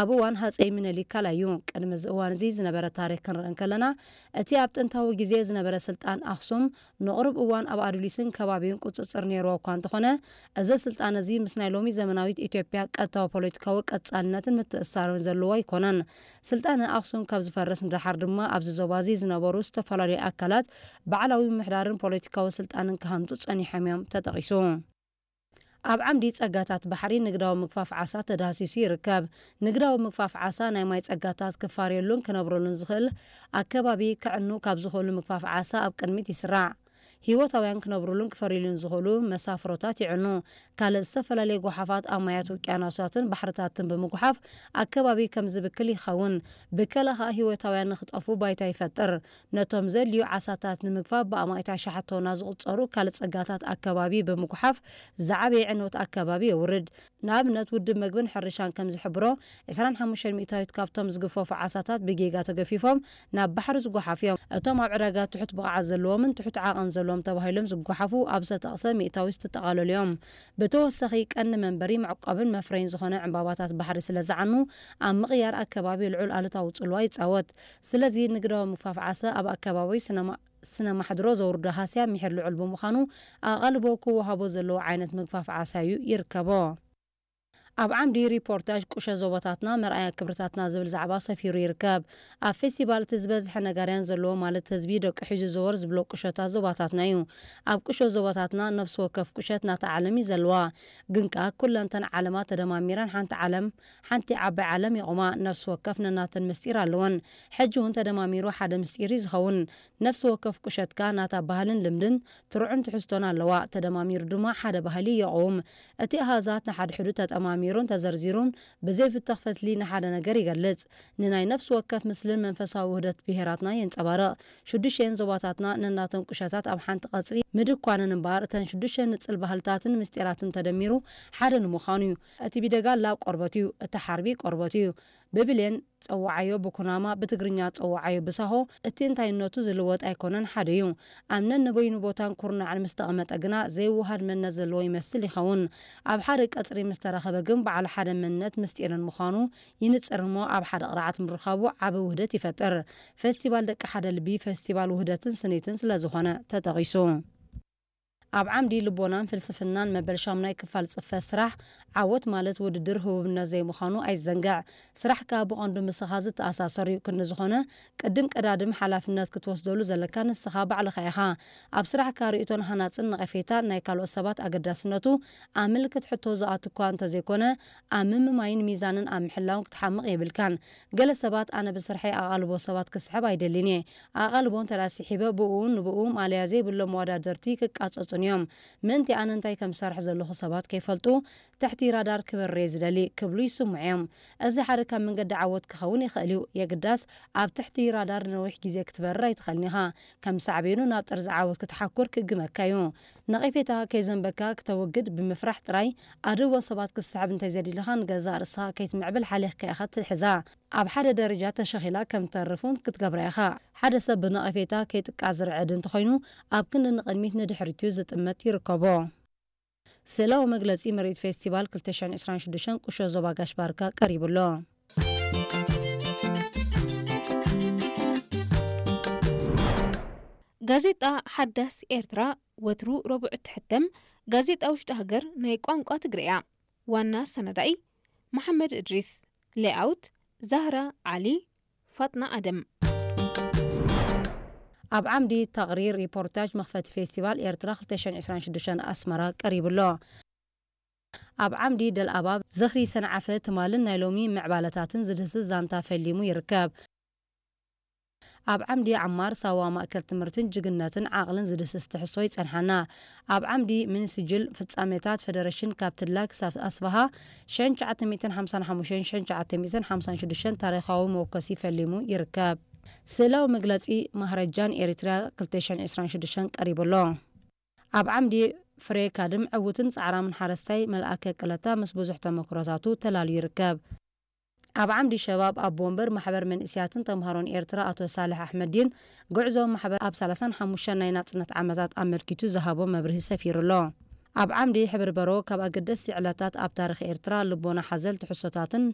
ኣብ እዋን ሃፀይ ምኒልክ ካልኣይ እዩ። ቅድሚ እዚ እዋን እዚ ዝነበረ ታሪክ ክንርኢ እንከለና፣ እቲ ኣብ ጥንታዊ ግዜ ዝነበረ ስልጣን ኣኽሱም ንቕሩብ እዋን ኣብ ኣዱሊስን ከባቢኡን ቁፅፅር ነይርዎ እኳ እንተኾነ፣ እዚ ስልጣን እዚ ምስ ናይ ሎሚ ዘመናዊት ኢትዮጵያ ቀጥታዊ ፖለቲካዊ ቀፃልነትን ምትእስሳርን ዘለዎ ኣይኮነን። ስልጣነ ኣኽሱም ካብ ዝፈርስ ንደሓር ድማ ኣብዚ ዞባ እዚ ዝነበሩ ዝተፈላለዩ ኣካላት ባዕላዊ ምምሕዳርን ፖለቲካዊ ስልጣንን ክሃንፁ ፀኒሖም እዮም ተጠቒሱ። ኣብ ዓምዲ ጸጋታት ባሕሪ ንግዳዊ ምግፋፍ ዓሳ ተዳህሲሱ ይርከብ። ንግዳዊ ምግፋፍ ዓሳ ናይ ማይ ጸጋታት ክፋርየሉን ክነብረሉን ዝኽእል ኣከባቢ ከዕኑ ካብ ዝኽእሉ ምግፋፍ ዓሳ ኣብ ቅድሚት ይስራዕ። ህይወታውያን ክነብሩሉን ክፈርዩሉን ዝኽእሉ መሳፍሮታት ይዕኑ። ካልእ ዝተፈላለየ ጓሓፋት ኣብ ማያት ውቅያኖሳትን ባሕርታትን ብምጉሓፍ ኣከባቢ ከም ዝብክል ይኸውን። ብከላ ኸኣ ህይወታውያን ንኽጠፉ ባይታ ይፈጥር። ነቶም ዘድልዩ ዓሳታት ንምግፋፍ ብኣማኢት ኣሽሓት ቶና ዝቑጸሩ ካልእ ጸጋታት ኣከባቢ ብምጉሓፍ ዝዓበየ ዕንወት ኣከባቢ የውርድ። ንኣብነት ውድብ መግብን ሕርሻን ከም ዝሕብሮ፣ ዕስራን ሓሙሽተን ሚእታዊት ካብቶም ዝግፈፉ ዓሳታት ብጌጋ ተገፊፎም ናብ ባሕሪ ዝጓሓፉ እዮም። እቶም ኣብ ዕዳጋ ትሑት ብቕዓት ዘለዎምን ትሑት ዓቐን ዘለዎም ተባሂሎም ዝጓሓፉ ኣብ ዝተጠቕሰ ሚእታዊት ዝጠቓለሉ እዮም። ብተወሳኺ ቀንዲ መንበሪ መዕቆብን መፍረይን ዝኾነ ዕምባባታት ባሕሪ ስለ ዝዓኑ ኣብ ምቕያር ኣከባቢ ልዑል ኣሉታዊ ጽልዋ ይጻወት። ስለዚ ንግዳዊ ምግፋፍ ዓሳ ኣብ ኣከባቢ ስነ ማሕድሮ ዘውርዶ ሃስያ ምሒር ልዑል ብምዃኑ ኣቓልቦ ክወሃቦ ዘለዎ ዓይነት ምግፋፍ ዓሳ እዩ ይርከቦ። ኣብ ዓምዲ ሪፖርታጅ ቁሸ ዞባታትና መርኣያ ክብርታትና ዝብል ዛዕባ ሰፊሩ ይርከብ። ኣብ ፌስቲቫል እቲ ዝበዝሐ ነጋርያን ዘለዎ ማለት ህዝቢ ደቂ ሒዙ ዘወር ዝብሎ ቁሸታት ዞባታትና እዩ። ኣብ ቁሸ ዞባታትና ነፍሲ ወከፍ ቁሸት ናታ ዓለም እዩ ዘለዋ። ግን ከኣ ኩለንተን ዓለማት ተደማሚረን ሓንቲ ዓለም ሓንቲ ዓባይ ዓለም የቑማ። ነፍሲ ወከፍ ነናተን ምስጢር ኣለወን። ሕጂ እውን ተደማሚሩ ሓደ ምስጢር እዩ ዝኸውን። ነፍሲ ወከፍ ቁሸት ከኣ ናታ ባህልን ልምድን ትርዑን ትሕዝቶን ኣለዋ። ተደማሚሩ ድማ ሓደ ባህሊ የቑውም። እቲ ኣሃዛት ንሓድሕዱ ተጠማሚሩን ተዘርዚሩን ብዘይፍተኽ ፈትሊ ንሓደ ነገር ይገልጽ። ንናይ ነፍሲ ወከፍ ምስልን መንፈሳዊ ውህደት ብሄራትና የንጸባርቕ። ሽዱሽተን ዞባታትና ነናተን ቁሸታት ኣብ ሓንቲ ቀጽሪ ምድኳነን እምበኣር እተን ሽዱሽተ ንጽል ባህልታትን ምስጢራትን ተደሚሩ ሓደ ንምዃኑ እዩ። እቲ ቢደጋላ ቆርበት እዩ፣ እቲ ሓርቢ ቆርበት እዩ። ብብሌን ጸውዓዮ ብኩናማ፣ ብትግርኛ ጸውዓዮ ብሳሆ፣ እቲ እንታይነቱ ዝልወጥ ኣይኮነን፣ ሓደ እዩ። ኣብ ነንበይኑ ቦታን ኩርናዕን ምስ ተቐመጠ ግና ዘይወሃድ መንነት ዘለዎ ይመስል ይኸውን። ኣብ ሓደ ቀጽሪ ምስ ተረኸበ ግን በዓል ሓደ መንነት ምስጢርን ምዃኑ ይንጽር እሞ ኣብ ሓደ ቅርዓት ምርኻቡ ዓቢ ውህደት ይፈጥር። ፌስቲቫል ደቂ ሓደ ልቢ ፌስቲቫል ውህደትን ስኒትን ስለ ዝኾነ ተጠቒሱ። ኣብ ዓምዲ ልቦናን ፍልስፍናን መበል ሻሙናይ ክፋል ጽፈት ስራሕ፣ ዓወት ማለት ውድድር ህቡብነት ዘይምዃኑ ኣይትዘንግዕ። ስራሕ ከኣ ብቐንዱ ምስኻ ዝተኣሳሰር እዩ። ክንዲ ዝኾነ፣ ቅድም ቀዳድም ሓላፍነት ክትወስደሉ ዘለካ ንስኻ ባዕልኻ ኢኻ። ኣብ ስራሕካ ርእይቶን ሃናጽን ነቐፌታን ናይ ካልኦት ሰባት ኣገዳስነቱ ኣብ ምልክት ሕቶ ዝኣቱ እኳ እንተዘይኮነ፣ ኣብ ምምማይን ሚዛንን ኣብ ምሕላውን ክትሓምቕ የብልካን። ገለ ሰባት፣ ኣነ ብስርሐይ ኣቓልቦ ሰባት ክስሕብ ኣይደልን እየ። ኣቓልቦ እንተ ደኣ ስሒበ፣ ብእኡ ንብኡ ማእለያ ዘይብሎም መወዳደርቲ ክቃጸጹን እዮም። ምእንቲ ኣነ እንታይ ከም ዝሰርሕ ዘለኹ ሰባት ከይፈልጡ፣ ትሕቲ ራዳር ክበርር እየ ዝደሊ ክብሉ ይስምዑ እዮም። እዚ ሓደ ካብ መንገዲ ዓወት ክኸውን ይኽእል እዩ። የግዳስ፣ ኣብ ትሕቲ ራዳር ንነዊሕ ግዜ ክትበርር ኣይትኽእልን ኢኻ። ከም ሳዕቤኑ ናብ ጠርዚ ዓወት ክትሓኩር ክእግመካ እዩ። ነቐፌታ ከይዘንበካ ክተወግድ ብምፍራሕ ጥራይ፣ ኣድህቦ ሰባት ክትስሕብ እንተዘይደሊኻ ንገዛእ ርእስኻ ከይትምዕብል ሓሊኽካ ኢኻ ትሕዛ። ኣብ ሓደ ደረጃ ተሸኺላ ከም ትተርፍ እውን ክትገብራ ኢኻ። ሓደ ሰብ ብነቐፌታ ከይጥቃዕ ዝርዕድ እንተኾይኑ፣ ኣብ ክንዲ ንቕድሚት ንድሕሪት እዩ ዝጥመት ይርከቦ። ስእላዊ መግለጺ ምርኢት ፌስቲቫል ክልተ ሽሕን ዕስራን ሽዱሽተን ቁሾ ዞባ ጋሽ ባርካ ቀሪቡ ኣሎ። ጋዜጣ ሓዳስ ኤርትራ ወትሩ ረቡዕ እትሕተም ጋዜጣ ውሽጢ ሃገር ናይ ቋንቋ ትግርኛ። ዋና ኣሰናዳኢ መሓመድ እድሪስ። ሌኣውት ዛህራ ዓሊ፣ ፋጥና ኣደም። ኣብ ዓምዲ ተቕሪር ሪፖርታጅ መኽፈቲ ፌስቲቫል ኤርትራ ክልተ ሽሕን ዕስራን ሽዱሽተን ኣስመራ ቀሪቡ ኣሎ። ኣብ ዓምዲ ደልኣባብ ዝኽሪ ሰንዓፈ ትማልን ናይ ሎሚ ምዕባለታትን ዝድህስስ ዛንታ ፈሊሙ ይርከብ። ኣብ ዓምዲ ዓማር ሳዋ ማእከል ትምህርትን ጅግነትን ዓቕልን ዝድህስስ ትሕዝቶ ይጸንሓና። ኣብ ዓምዲ ሚኒስጅል ፍጻሜታት ፈደረሽን ካብ ትድላ ክሳብ ኣስበሃ ሽሕን ትሽዓተ ሚእትን ሓምሳን ሓሙሽተን ሽሕን ትሽዓተ ሚእትን ሓምሳን ሽዱሽተን ታሪኻዊ መወከሲ ፈሊሙ ይርከብ። ስእላዊ መግለጺ ማህረጃን ኤሪትርያ ክልተ ሽሕን ዕስራን ሽዱሽተን ቀሪቡ ኣሎ። ኣብ ዓምዲ ፍሬ ካድም ዕዉትን ጻዕራምን ሓረስታይ መልኣከ ቅለታ ምስ ብዙሕ ተመክሮታቱ ተላልዩ ይርከብ። ኣብ ዓምዲ ሸባብ ኣቦ ወንበር ማሕበር መንእስያትን ተምሃሮን ኤርትራ ኣቶ ሳልሕ ኣሕመዲን ጉዕዞ ማሕበር ኣብ ሰላሳን ሓሙሽተን ናይ ናጽነት ዓመታት ኣመልኪቱ ዝሃቦ መብርሂ ሰፊሩ ኣሎ። ኣብ ዓምዲ ሕብሪ በሮ ካብ ኣገደስቲ ዕለታት ኣብ ታሪኽ ኤርትራ ልቦና ሓዘል ትሕዝቶታትን